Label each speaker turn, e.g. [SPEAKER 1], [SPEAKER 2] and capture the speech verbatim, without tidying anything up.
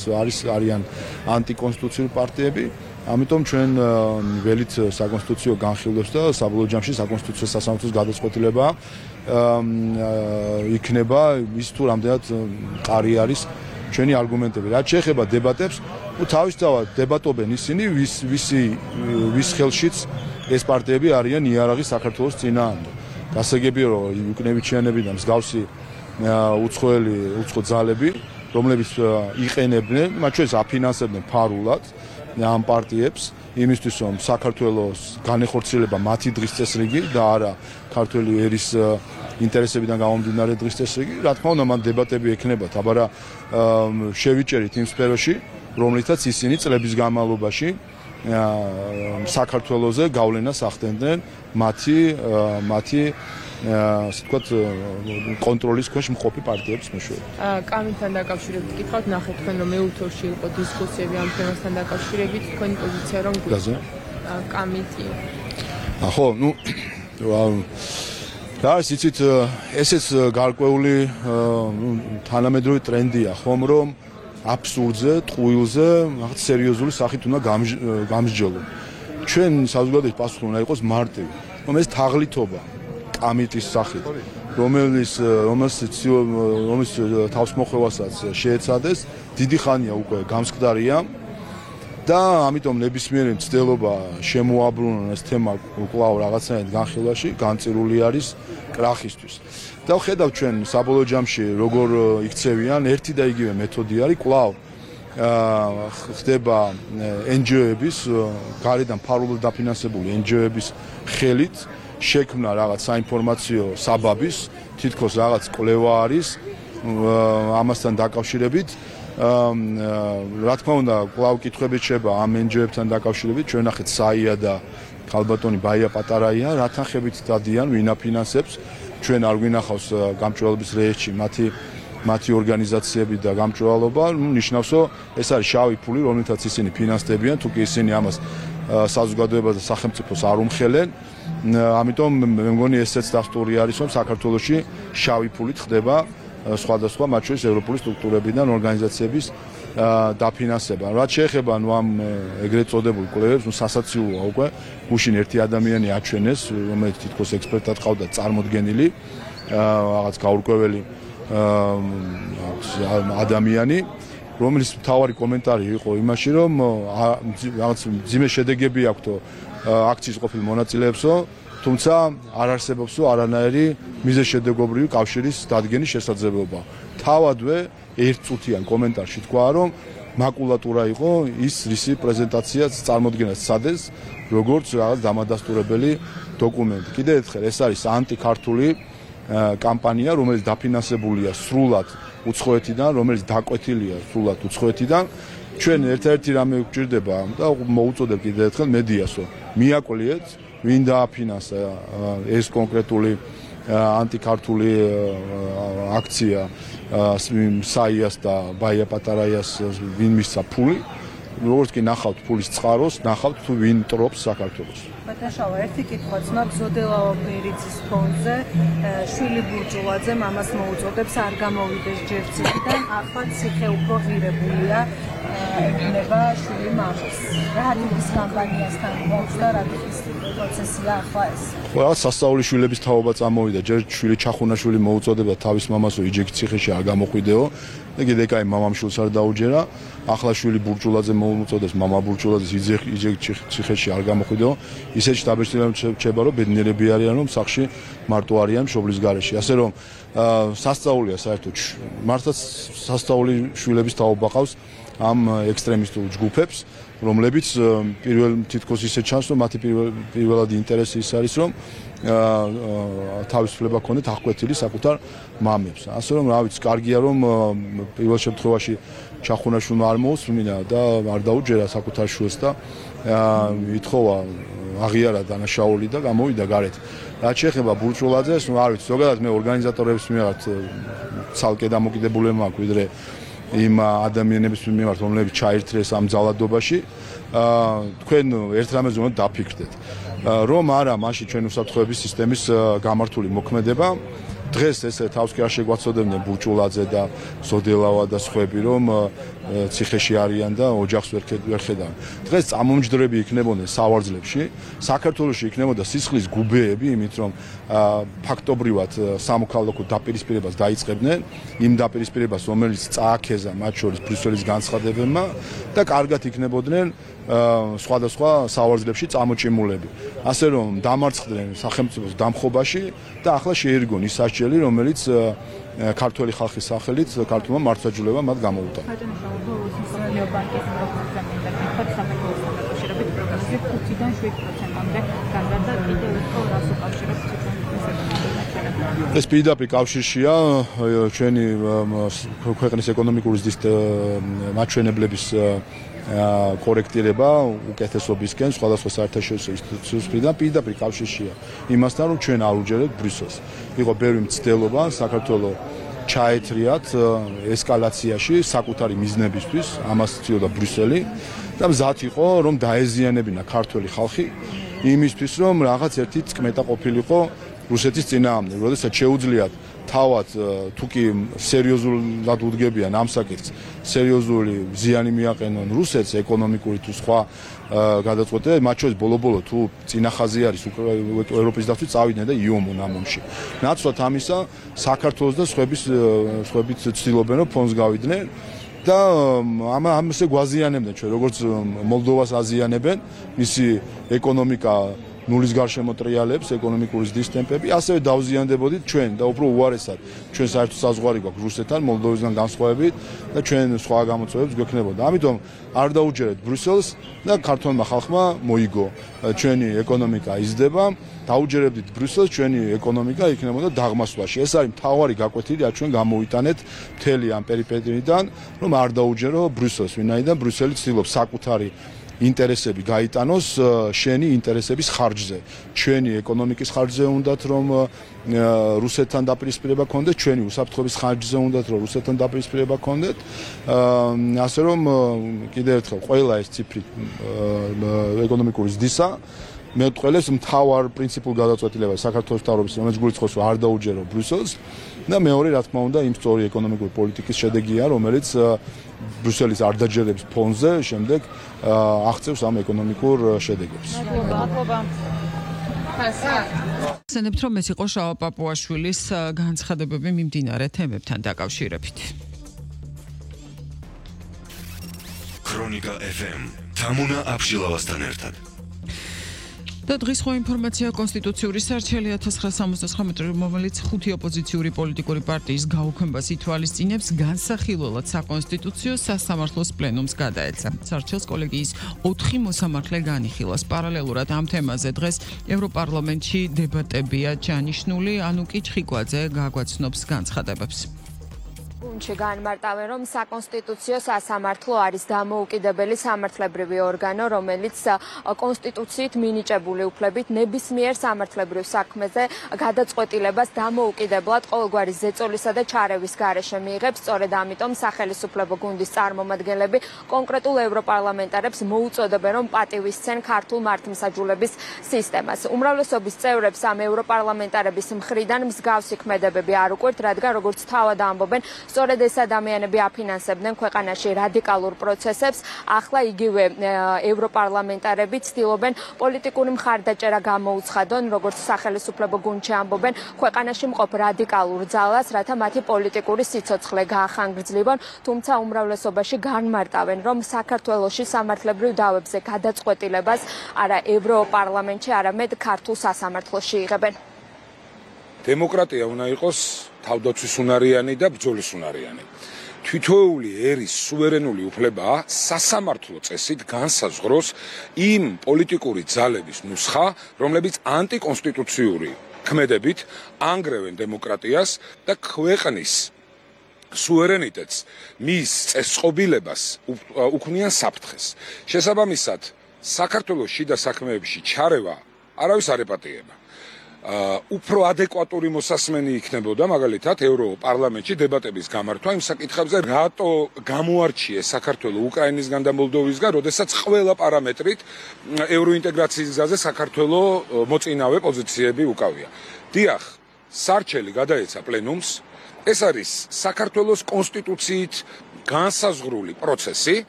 [SPEAKER 1] არის არიან ანტიკონსტიტუციური პარტიები. ამიტომ ჩვენ ველით საკონსტიტუციო განხილვებს და საბოლოო ჯამში საკონსტიტუციო სასამართლოს გადაწყვეტილება იქნება ის თუ რამდენად მყარი არის ჩვენი არგუმენტები. რაც შეეხება დებატებს, ну თავისთავად დებატობენ ისინი, ვის ვისი ვის ხელშიც ეს პარტიები არიან იარაღი საქართველოს წინააღმდეგ. გასაგებია რომ უკნევიჩიანები და მსგავსი უცხოელი უცხო ძალები, რომლებიც იყენებდნენ, მათ შორის აფინანსებდნენ ფარულად ამ პარტიებს იმისთვის რომ საქართველოს განეხორციელება მათი დღის წესრიგი და არა ქართველი ერის ინტერესებიდან გამომდინარე დღის წესრიგი. რა თქმა უნდა, მან დებატები ექნებათ, აბარა შევიჭერით იმ სფეროში, რომლითაც ისინი წლების განმავლობაში საქართველოზე გავლენას ახდენდნენ მათი მათი ასე ვთქვათ კონტროლის ქვეშ მყოფი პარტიების მეშვეობით.
[SPEAKER 2] კამიტთან დაკავშირებით გითხავთ, ნახეთ თქვენ რომ მეოთხე თორში იყო დისკუსიები ამ თემასთან დაკავშირებით, თქვენი პოზიცია რომ გიძა კამიტი.
[SPEAKER 1] ხო, ну და იცით ესეც გარკვეული თანამედროვე ტრენდია, ხომ რომ აბსურდზე, ტყუილზე, რაღაც სერიოზული სახით უნდა გამსჯელო. ჩვენ საზოგადოების პასუხი უნდა იყოს მარტივი, რომ ეს თაღლითობა კამიტის სახით, რომელიც რომელიც რომელიც თავსმოხვევასაც შეეცადეს, დიდი ხანია უკვე გამსკდარია და ამიტომ ნებისმიერი მცდელობა შემოაბრუნონ ეს თემა კვლავ რაღაცნაირად განხილვაში, განწირული არის კრახისთვის. და ვხედავ ჩვენ საბოლოო ჯამში როგორ იქცევიან, ერთი და იგივე მეთოდი არის, კვლავ ხდება ენ ჯი ო-ების, გარედან ფარულად დაფინანსებული ენ ჯი ო-ების ხელით შექმნა რაღაც საინფორმაციო საბაბის, თითქოს რაღაც კვლევა არის ამასთან დაკავშირებით. რა თქმა უნდა, კვლავ კითხვებით შეება ამ ენ ჯი ო-ებთან დაკავშირებით, ჩვენ ნახეთ საია და ქალბატონი ბაია პატარაია, რა თანხებით დადიან, ვინ აფინანსებს, ჩვენ არ გვინახავს გამჭვირვალობის რეესტრში მათი მათი ორგანიზაციები და გამჭვირვალობა, ну ნიშნავს, რომ ეს არის შავი ფული, რომელთაც ისინი ფინანსდებიან, თუ კი ისინი ამას საზოგადოებას და სახელმწიფოს არ უმხელენ. ამიტომ მე მგონი ესეც დასტური არის, რომ საქართველოში შავი ფულით ხდება სხვადასხვა მათ შორის ევროპული სტრუქტურებიდან ორგანიზაციების დაფინანსება. რაც შეეხება ნუ ამ ეგრეთ წოდებულ კვლევებს, ნუ სასაცილოა უკვე გუშინ ერთი ადამიანი აჩვენეს, რომელიც თითქოს ექსპერტად ყავდა წარმოდგენილი, რაღაც გაურკვეველი ადამიანი, რომლის მთავარი კომენტარი იყო იმაში, რომ რაღაც ძიმე შედეგები აქვს აქციის ყოფილ მონაწილეებსო, თუმცა არ არსებობსო არანაირი მიზეშედეგობრივი კავშირის დადგენის შესაძლებლობა. თავადვე ერთწუთიან კომენტარში თქვა, რომ მაკულატურა იყო ის რისი პრეზენტაციაც წარმოდგენას სცადეს, როგორც რაღაც დამადასტურებელი დოკუმენტი. კიდევ ერთხელ, ეს არის ანტიქართული კამპანია, რომელიც დაფინანსებულია სრულად უცხოეთიდან, რომელიც დაკვეთილია სრულად უცხოეთიდან. ჩვენ ერთ-ერთი რამე გვჭირდება და მოუწოდებ კიდევ ერთხელ მედიასო, მიაკლიეთ, ვინ დააფინანსა ეს კონკრეტული ანტიქართული აქცია საიას და ბაია პატარაიას ვინ მისცა ფული, როგორც კი ნახავთ ფულის წყაროს, ნახავთ თუ ვინ ტრობს საქართველოს.
[SPEAKER 3] ბატონშავა, ერთი კითხვა ძმა გზოდელავა ბერიძის ფონზე, შვილი ბურჯულაძე მამას მოუწოდებს არ გამოვიდეს ჯერ ციხიდან, ახლა ციხე უფრო ღირებულია, ეკნება შვილი მამას. რა არის კამპანიასთან გვაქვს და რა ტიპის პროცესია ახლა ეს?
[SPEAKER 1] ყველა სასწაული შვილების თაობა წამოვიდა, ჯერ შვილი ჩახუნაშვილი მოუწოდება თავის მამასო იჯექი ციხეში არ გამოხვიდეო. და კიდე კაი მამამ შვილს არ დაუჯერა, ახლა შვილი ბურჯულაძე მოუწოდებს მამა ბურჯულაძეს იჯექი ციხეში არ გამოხვიდეო. ისეთი დაბეჭდილება რჩება, რომ ბედნიერები არიან, რომ სახლში მარტო არიან მშობლის გარეშე. ასე რომ სასწაულია საერთოდ მართლაც სასწაული შვილების თაობა ყავს ამ ექსტრემისტულ ჯგუფებს, რომლებიც პირველ თითქოს ისე ჩანს, რომ მათი პირველადი ინტერესი ის არის, რომ თავისუფლება ქონდეთ აღკვეთილი საკუთარ მამებს. ასე რომ, რა ვიცი, კარგია რომ პირველ შემთხვევაში ჩახუნაშვილმა არ მოусმინა და არ დაუჯერა საკუთარ შვილს და ითხოვა აღიარა დანაშაული და გამოვიდა გარეთ. რაც შეეხება ბურჯულაძეს, ნუ არ ვიცი, ზოგადად მე ორგანიზატორების მიმართ ცალკე დამოკიდებულება მაქვს, ვიდრე იმ ადამიანების მიმართ, რომლებიც ჩაირთრეს ამ ძალადობაში, თქვენ ერთ რამეზე უნდა დაფიქრდეთ. რომ არა, მაშინ ჩვენ უსაფრთხოების სისტემის გამართული მოქმედება დღეს ესე თავს კი არ შეგვაცოდებდნენ ბურჭულაძე და ზოდელავა და სხვები, რომ ციხეში არიან და ოჯახს ვერ ხედავენ. დღეს წამომჯდრები იქნებოდნენ სავარძლებში, საქართველოში იქნებოდა სისხლის გუბეები, იმით რომ ფაქტობრივად სამოქალაქო დაპირისპირებას დაიწყებდნენ, იმ დაპირისპირებას, რომელიც წააქეზა მათ შორის ბრიუსელის განცხადებებმა და კარგად იქნებოდნენ სხვადასხვა სავარძლებში წამოჭიმულები. ასე რომ დამარცხდნენ სახელმწიფოს დამხობაში და ახლა შეირგონ ის სასჯელი, რომელიც ქართველი ხალხის სახელით ქართულმა მართლმსაჯულებამ მათ გამოუტანა. ეს პირდაპირ კავშირშია ჩვენი ქვეყნის ეკონომიკური ზრდის მაჩვენებლების კორექტირება უკეთესობისკენ სხვადასხვა საერთაშორისო ინსტიტუციებიდან პირდაპირ კავშირშია იმასთან, რომ ჩვენ არ უჯერებთ ბრიუსელს. იყო ბევრი მცდელობა საქართველოს ჩაეთრიათ ესკალაციაში საკუთარი მიზნებისთვის, ამას ცდილობდა ბრიუსელი და მზად იყო რომ დაეზიანებინა ქართველი ხალხი იმისთვის, რომ რაღაც ერთი წკმეტა ყოფილიყო რუსეთის წინააღმდეგ, როდესაც შეუძლიათ თავად თუ კი სერიოზულად უდგებიან ამ საკითხს, სერიოზული ზიანი მიაყენონ რუსეთს ეკონომიკური თუ სხვა გადაწყვეტილება, მათ შორის ბოლო-ბოლო თუ წინახაზი არის ევროპის დაცვის წავიდნენ და იომონ ამ ომში. ნაცვლად ამისა საქართველოს და სხვების სხვებით ცდილობენ რომ ფონს გავიდნენ და ამ ამასე გვაზიანებდნენ ჩვენ, როგორც მოლდოვას აზიანებენ, მისი ეკონომიკა ნულის გარშემო ტრიალებს, ეკონომიკური ზრდის ტემპები, ასევე დავზიანდებოდით ჩვენ და უფრო უარესად ჩვენ საერთო საზღვარი გვაქვს რუსეთთან, მოლდოვისგან განსხვავებით და ჩვენ სხვა გამოწვევებს გვექნებოდა. ამიტომ არ დაუჯერეთ ბრიუსელს და ქართულმა ხალხმა მოიგო. ჩვენი ეკონომიკა იზრდება, დაუჯერებდით ბრიუსელს, ჩვენი ეკონომიკა იქნებოდა დაღმასვლაში. ეს არის მთავარი გაკვეთილი, რაც ჩვენ გამოვიტანეთ მთელი ამ პერიპეტიიდან, რომ არ დაუჯერო ბრიუსელს, ვინაიდან ბრიუსელი ცდილობს საკუთარი ინტერესები გაიტანოს შენი ინტერესების ხარჯზე. ჩვენი ეკონომიკის ხარჯზე უნდათ რომ რუსეთთან დაპირისპირება გქონდეთ, ჩვენი უსაფრთხოების ხარჯზე უნდათ რომ რუსეთთან დაპირისპირება გქონდეთ. ასე რომ კიდევ ერთხელ ყველა ეს ციფრი ეკონომიკური ზრდისა მეტყველებს მთავარ პრინციპულ გადაწყვეტილებას საქართველოს მთავრობის, რომელიც გულისხმობს რომ არ დაუჯერო ბრიუსელს და მეორე რა თქმა უნდა იმ სწორი ეკონომიკური პოლიტიკის შედეგია, რომელიც ბრიუსელის არ დაჯერების ფონზე შემდეგ აღწევს ამ ეკონომიკურ შედეგებს.
[SPEAKER 3] მადლობა.
[SPEAKER 4] ხსენებთ, რომ ეს იყო შავა პაპუაშვილის განცხადებები მიმდინარე თემებთან დაკავშირებით.
[SPEAKER 5] ქრონიკა ეფ ემ თამუნა აბშილავასთან ერთად.
[SPEAKER 4] და დღის ხო ინფორმაცია კონსტიტუციური სარჩელი ათას ცხრაასა სამოცდათხრამეტი, რომელიც ხუთი ოპოზიციური პოლიტიკური პარტიის გაუქმებას ითვალისწინებს, განსახილველად საკონსტიტუციო სასამართლოს პლენუმს გადაეცა. სარჩელს კოლეგიის ოთხი მოსამართლე განიხილავს. პარალელურად ამ თემაზე დღეს ევროპარლამენტში დებატებია ჩანიშნული, ანუკი ჩხიკვაძე გაგვაცნობს განცხადებებს.
[SPEAKER 6] გუნდში განმარტავენ, რომ საკონსტიტუციო სასამართლო არის დამოუკიდებელი სამართლებრივი ორგანო, რომელიც კონსტიტუციით მინიჭებული უფლებით ნებისმიერ სამართლებრივ საქმეზე გადაწყვეტილებას დამოუკიდებლად ყოველგვარი ზეწოლისა და ჩარევის გარეშე მიიღებს. სწორედ ამიტომ სახელისუფლებო გუნდის წარმომადგენლები კონკრეტულ ევროპარლამენტარებს მოუწოდებენ, რომ პატივისცენ ქართულ მართლმსაჯულების სისტემას. უმრავლესობის წევრებს ამ ევროპარლამენტარების მხრიდან მსგავსი ქმედებები არ უყვირთ, რადგან როგორც თავად ამბობენ, სწორედ ეს ადამიანები აფინანსებდნენ ქვეყანაში რადიკალურ პროცესებს. ახლა იგივე ევროპარლამენტარები ცდილობენ პოლიტიკური მხარდაჭერა გამოუცხადონ, როგორც სახელისუფლებო გუნდში ამბობენ, ქვეყანაში მყოფ რადიკალურ ძალას, რათა მათი პოლიტიკური სიცოცხლე გაახანგრძლიվონ, თუმცა უმრავლესობაში განმარტავენ, რომ საქართველოში სამართლებრივ დავებზე გადაწყვეტილებას არა ევროპარლამენტში, არამედ ქართულ სასამართლოში იღებენ.
[SPEAKER 7] დემოკრატია უნდა იყოს თავდაცვისუნარიანი და ბრძოლისუნარიანი. თითოეული ერის სუვერენული უფლება სასამართლო წესით განსაზღვროს იმ პოლიტიკური ძალების ნუსხა, რომლებიც ანტიკონსტიტუციური ქმედებით ანგრევენ დემოკრატიას და ქვეყნის სუვერენიტეტს, მის წესწყობილებას უქმნიან საფრთხეს. შესაბამისად, საქართველოს შიდა საქმეებში ჩარევა არავის არ ეპატიება. უფრო ადეკვატური მოსასმენი იქნებოდა მაგალითად ევროპარლამენტში დებატების გამართვა იმ საკითხებზე, რატო გამოარჩიეს საქართველოს უკრაინისგან და მოლდოვისგან, როდესაც ყველა პარამეტრით ევროინტეგრაციის გზაზე საქართველოს მოწინავე პოზიციები უკავია. დიახ, სარჩელი გადაეცა პლენუმს. ეს არის საქართველოს კონსტიტუციით განსაზღვრული პროცესი,